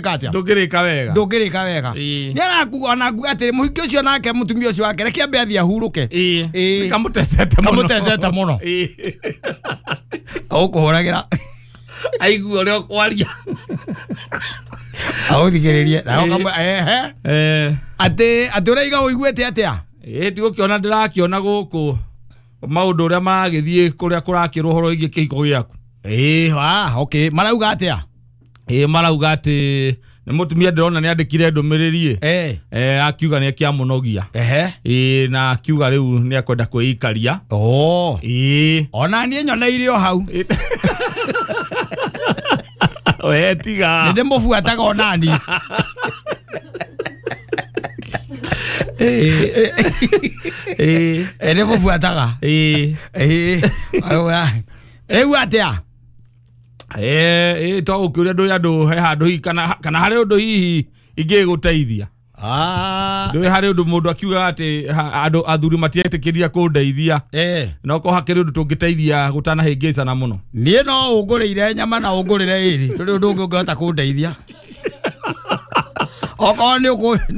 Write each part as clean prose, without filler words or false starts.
Katia ndũngĩrĩka wega. Ndũngĩrĩka wega. Ĩĩ. Nĩ arakuga ona nguga atĩrĩ mũhiki ũcio nake mũtumia ũcio wake reke ambe athiĩ ahurũke. Ĩĩ. Ĩĩ. Kamũtecete mũno. Kamũtecete mũno. Ĩĩ. Ũkũhũragĩra Aigua ũrĩa ũkwaria. Aũthikĩrĩrie na ũkamwe ehe. Eh. Atĩ ũraiga ũiguĩte atĩa? Ĩĩ tigũkĩona ndĩrakĩona gũkũ maũndũ ũrĩa maragĩthiĩ kũrĩa kũrakĩrwo ũhoro wĩgiĩ kĩhiko gĩaku. Ĩĩ, ah, okay. Marauga atĩa? Ĩĩ marauga atĩ nĩ mũtumia ndĩrona nĩ andĩkire ndũmĩrĩri ĩ. Eh. Eh, akiuga nĩ akĩamũnogia. Ehe. Ĩĩ na akiuga rĩu nĩ akwenda kwĩikaria. Oh. Ĩĩ. Ona niĩ nyoneire o hau. We tiga. Nĩ ndĩmũbuataga ona niĩ. Ĩĩ. Ĩ ndĩmũbuataga. Ĩĩ. Ĩĩ. Rĩu atĩa? Ĩĩ to gũkĩũria ndũĩ andũ he handũ hihi kana harĩ ũndũ hihi ingĩgũteithia. Ah. Ndũĩ harĩ ũndũ mũndũ akiugaga atĩ andũ athuri matietĩkĩria kũndeithia. Eh. No korwo hakĩrĩ ũndũ tũngĩteithia gũtanahĩngĩcana mũno. Niĩ no ũngũrĩire nyama na ũngũrĩre ĩrĩ. Tũrĩ ũndũ ũngĩ ũngĩhota kũndeithia. Okorwo nĩ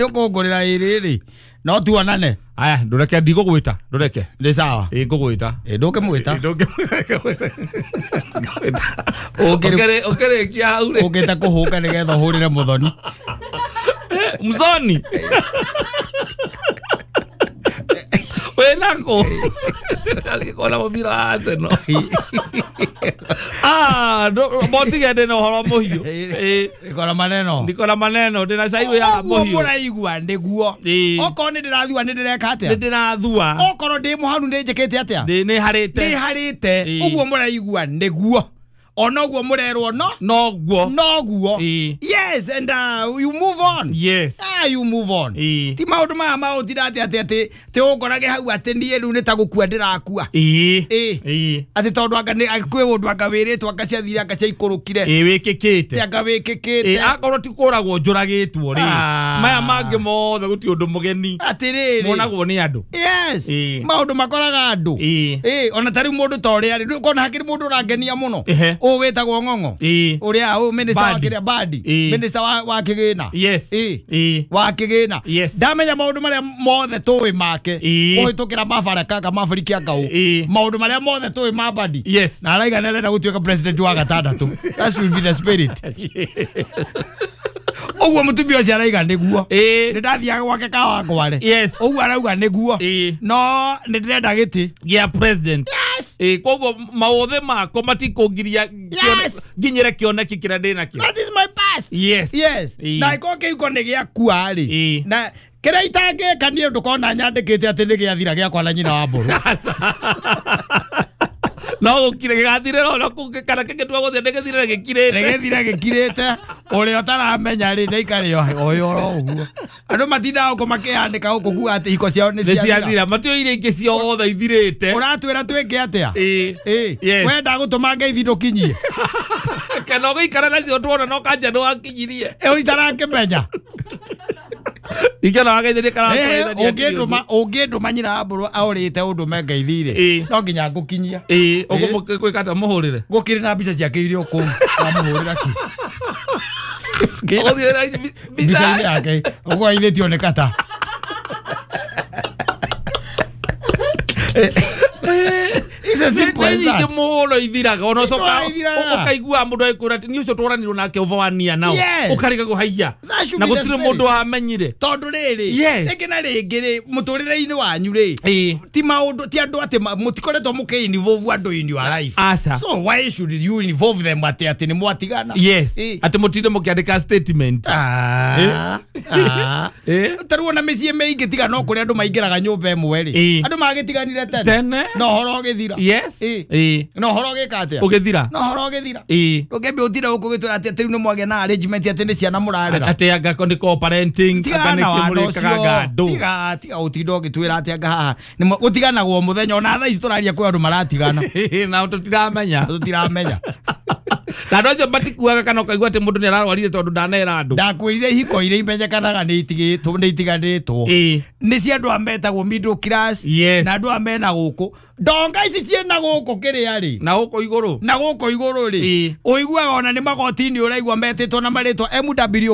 ũkũngũrĩra ĩrĩ rĩ, no tuonane. Aya ndũreke ndigũgwĩta ndũreke. Nĩ sawa. Ĩĩ ngũgwĩta. Ĩ ndũngĩmwĩta. Ndũngĩmwĩta. Ũngĩrĩ Ũkĩrĩkia hau rĩ. ũngĩte kũhũka nĩgetha ũhũrĩre mũthoni. Mzoni. Wĩnako. Ndagĩkona mũbira wa Arsenal. Ah, motige ndĩna ũhoro mũhiũ. Ĩĩ. Ndikona maneno. Ndikona maneno ndĩna cai ya Ũguo mũhiũ. mũraigua nĩguo. Ĩĩ. Okorwo nĩ ndĩrathua nĩ ndĩreka atĩa? Nĩ ndĩrathua. Okorwo ndĩ mũharu nĩ njĩkĩte atĩa? Ndĩ nĩ harĩte. Nĩ harĩte. Ĩĩ. Ũguo mũraigua nĩguo. Ona ũguo mũrerwo no Noguo. noguo. Ĩĩ. Yes, and you move on. Yes. Ah, you move on. Ĩĩ. Ti maũndũ maya maũtira atĩ atĩ atĩ atĩ ũngorage hau atĩ niĩ rĩu nĩ ta gũkua ndĩrakua. Ĩĩ. Ĩĩ. Ĩĩ. Atĩ tondũ anga nĩ kwĩ ũndũ anga wĩrĩtwo anga ciathire anga ciaikũrũkire. Ĩĩ wĩkĩkĩte. Atĩ anga wĩkĩkĩte. Ĩĩ akorwo ti kũragwo njũragĩtwo rĩ. Ah. Maya mangĩ mothe gũtirĩ ũndũ mũgeni. Atĩrĩrĩ. Monagwo nĩ andũ. Yes. Ĩĩ. Maũndũ makoraga andũ. Ĩĩ. Ĩĩ, ona ta rĩu mũndũ ta ũrĩa rĩ, ndũkona hakĩrĩ mũndũ ũrangenia mũno. Ehe. Ũyũ wĩtagwo Ng'ong'o. Ĩĩ. Ũrĩa ũyũ minister wa Badi. kĩrĩa Badi. Ĩĩ. Minister wa kĩgĩna. Yes. Ĩĩ. Ĩĩ. Wa kĩgĩna. Yes. Ndamenya maũndũ marĩa mothe tũĩ make. Ĩĩ. Kũhĩtũkĩra mabaraka ka mabariki anga ũ. Ĩĩ. Maũndũ marĩa mothe tũĩ ma Badi. Yes. Na araiga nĩ arenda gũtuĩka president wa gatandatũ. That should be the spirit. Ũguo mũtumia ũcio araiga nĩguo. Ĩĩ. Nĩ ndathiaga gwake Kawangware. Yes. Ũguo arauga nĩguo. Ĩĩ. No nĩ ndĩrenda gĩtĩ. Gĩa president. Yes. Ĩĩ koguo maũthĩ makwa matikũngiria Yes. nginyĩre kĩoneki kĩrĩa ndĩnakĩo. That is my past. Yes. Yes. Ĩĩ. Na ĩkorwo kĩhiko nĩ gĩakua rĩ. Ĩĩ. Na kĩrĩa itangĩka niĩ ndũkona nyandĩkĩte atĩ nĩ gĩathira gĩakwa na nyina wa mbũrũ. No gũkire gĩgathirĩra ona kũngĩ kana kĩngĩtua gũthiĩ nĩ gĩthirĩre gĩkirĩte. Nĩ gĩthire gĩkirĩte ũrĩa ũtaramenya rĩ nĩaikare oyo oro ũguo. Andũ matindaga gũkũ makĩandĩka gũkũ kuga atĩ ihiko ciao nĩ Nĩ ciathira. ciathira matiũĩ iria ingĩ ciothe ithirĩte. Ũratwĩra twĩke atĩa? Ĩĩ. Ĩĩ. Yes. Wenda gũtũma ngeithi ndũkinyie. Kana ũgĩikara nacio tuona no kanja nĩ wakinyirie. Ĩyo itarakĩmenya. Ingĩona wageithĩria kana Ũngĩndũma nyina wa mbũrũ aũrĩte ũndũme ngeithi rĩ. Ĩĩ. No nginya ngũkinyia. Ĩĩ ũgũmũkwĩka atĩa mũhũrĩre? Gũkĩrĩ na mbica ciake iria kũu wamũhũrĩra kĩ. Ũgũthiĩ na Mbica-inĩ yake ũguo aithĩtio nĩ kata. It's as simple as Nĩ that. nyingĩ mũno ithiraga ona ũcoka Ithiraga. ũkaigua mũndũ agĩkwĩra atĩ niĩ ũcio twaranirwo nake over one year now Yes. ũkarigagwo haiya That should na be the gũtirĩ spirit. mũndũ wamenyire. Tondũ rĩrĩ Yes. rĩngĩ na rĩngĩ rĩ mũtũrĩre-inĩ wanyu rĩ Ĩĩ. ti maũndũ ti andũ atĩ mũtikoretwo mũkĩ-involve andũ in your life. Aca. So why should you involve them atĩ atĩ nĩ mwatigana? Yes. Ĩĩ. Atĩ mũtinde mũkĩandĩka statement. Ah, ah. Ĩĩ. Ta rĩu ona mĩciĩ mĩingĩ tiga no kũrĩa andũ maingĩraga nyũmba ĩmwe rĩ Ĩĩ. andũ magĩtiganire tene Tene. na ũhoro ũgĩthira. Yes. Ĩĩ. Ĩĩ. Na ũhoro ũgĩka atĩa? Ũgĩthira. Na ũhoro ũgĩthira. Ĩĩ. Ndũngĩambia ũtinde gũkũ ũgĩtwĩra atĩ atĩ rĩu nĩ mwagĩa na arrangement atĩ nĩ ciana mũrarera. Atĩ anga nĩ co-parenting anga Tigana nĩkĩo na wana mũrĩkaga ũcio. nga andũ. Tiga tiga ũtinde ũgĩtwĩra atĩ anga haha nĩ gũtiganagwo mũthenya ona thaa ici tũraria kwĩ andũ maratigana. Na tũtiramenya. Tũtiramenya. Na andũ acio matikuaga kana ũkaigua atĩ mũndũ nĩ ararwarire tondũ ndanera andũ. Ndakwĩrire ihiko iria imenyekanaga nĩ itigĩtwo nĩ itiganĩtwo Ĩĩ. nĩ cia andũ a metagwo middle class Yes. na andũ a mena gũkũ ndonga ici ciĩna gũkũ kĩrĩa rĩ Na gũkũ igũrũ. Na gũkũ igũrũ rĩ Ĩĩ. ũiguaga ona nĩ magoti-inĩ ũraigua metĩtwo na marĩtwa MW.